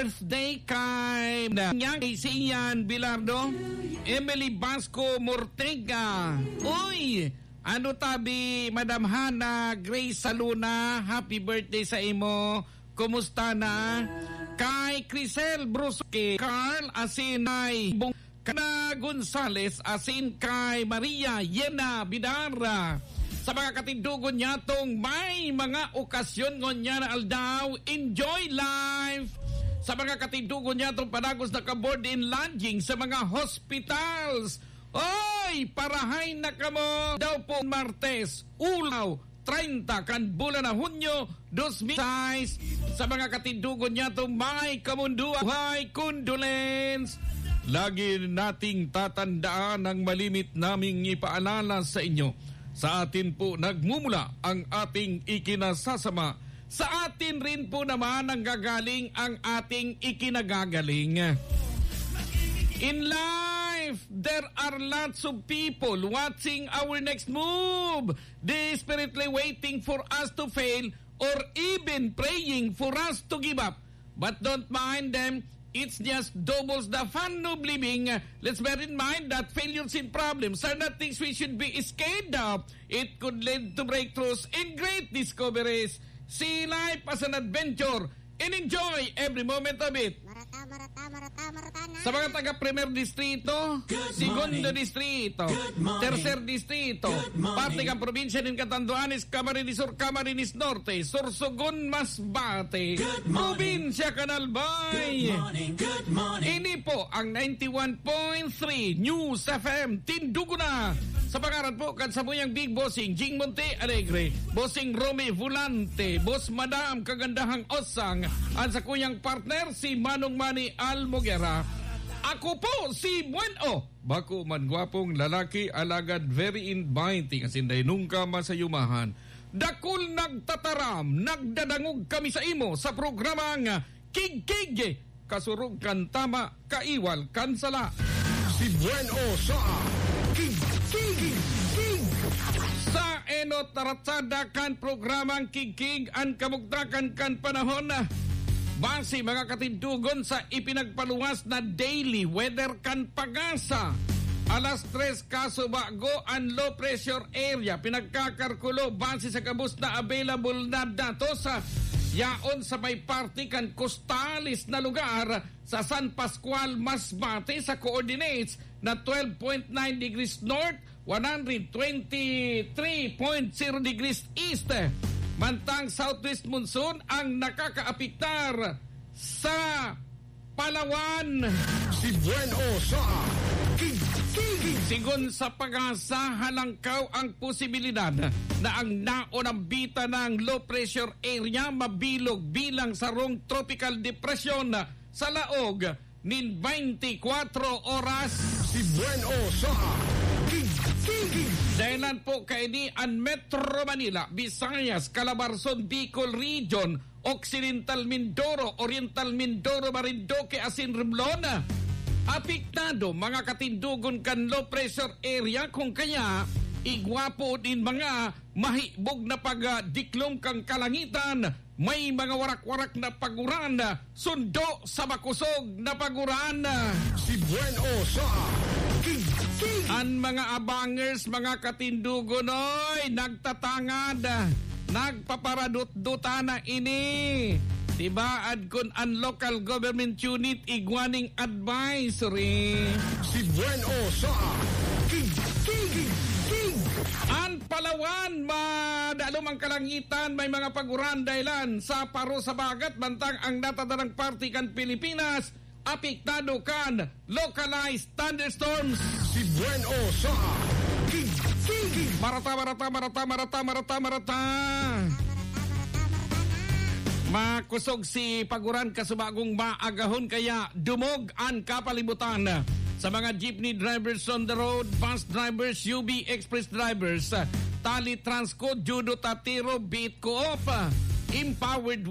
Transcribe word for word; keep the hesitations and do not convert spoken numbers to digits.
birthday kay Nanyang, kay Sian Bilardo, Emily Basco Mortega. Uy, ano tabi, Madam Hana Grace Saluna, happy birthday sa imo. Kumusta na? Kay Crisel Brusque, Carl Asinay, Bung-, Kana Gonzales, asin kay Maria Yena Bidara. Sa mga katindogon nyatong may mga okasyon ngunyan na aldaw, enjoy life! Sa mga katindogon nyatong padagos na ka-board and lodging sa mga hospitals, oy, parahay na kamo! Daw po Martes, ulaw, treinta kan bulan na Hunyo, dos mil sais. Sa mga katindogon nyatong may kamunduan, buhay, condolence. Lagi nating tatandaan ang malimit naming ipaalala sa inyo. Sa atin po nagmumula ang ating ikinasasama. Sa atin rin po naman nanggagaling ang ating ikinagagaling. In life, there are lots of people watching our next move, desperately waiting for us to fail or even praying for us to give up. But don't mind them, it's just doubles the fun of living. Let's bear in mind that failures and problems are not things we should be scared of. It could lead to breakthroughs and great discoveries. See life as an adventure and enjoy every moment of it. Marata, marata, marata, marata na. Sa mga taga Primer Distrito, Good Segundo morning. Distrito, Good morning. Tercer Distrito, Good morning. Parte kan probinsya nin Catanduanes, Camarines Sur, Camarines Norte, Sorsogon, Masbate, Good morning. Probinsya kan Albay. Good morning. Good morning. Ini po ang ninety-one point three News F M, Tindugo na. Sa pangaran po kan samuyang Big Bossing Jing Monte Alegre, Bossing Romy Volante, Boss Madam Kagandahang Osang, an sakuyang partner si Manong Manny Almoguera. Ako po si Buen O. Bako man gwapong lalaki, alagad very inviting, asin dai nungka masayumahan. Dakul nagtataram, nagdadangog kami sa imo sa programang Kigkig, kasurog kan tama, kaiwal kan sala. Si Buen O sa Kigkig. Sa enot na ratsada kan programang Kigkig, an kamugtakan kan panahon. Base mga katindugon sa ipinagpaluwas na daily weather kan PAGASA. Alas tres kasubago an low pressure area pinagkakarkulo base sa gabos na available na datos. Yaon sa may parte kan kostales na lugar sa San Pascual, Masbate, sa coordinates na twelve point nine degrees north, one hundred twenty-three point zero degrees east. Mantang southwest monsoon ang nakakaapektar sa Palawan. Si Buen O sa Kigkig. Sigon sa PAGASA, halangkaw ang posibilidad na ang naonang bita ng low pressure area mabilog bilang sarong tropical depression sa laog nin twenty-four oras. Si Buen O sa Kigkig. Dahilan po kaini an Metro Manila, Visayas, Calabarzon, Bicol Region, Occidental Mindoro, Oriental Mindoro, Marinduque asin Romblon. Apektado mga katindugon kan low pressure area, kung kaya igwa po nin mga mahibog na pagdiklom kan kalangitan, may mga warak-warak na paguran, sundo sa makosog na paguran. Si Buen O sa Kigkig. An mga abangers, mga katindugon, oy, nagtatangad, nagpaparadot-dota na ini. Tibaad kun an local government unit igwa ning advisory. Si Buen O sa Kigkig. An Palawan, madalom ang kalangitan, may mga paguran dahilan sa paro sa bagat, mantang ang natadarang parte kan Pilipinas apektado kan localized thunderstorms. Si Buen O sa Kigkig. Marata, marata, marata, marata, marata, marata. Makosog si paguran kasubagong maagahon, kaya dumog an kapalibutan. Sa mga jeepney drivers on the road, bus drivers, U B Express drivers, Tali Transco, Judo Tatiro, Beat Coop, Empowered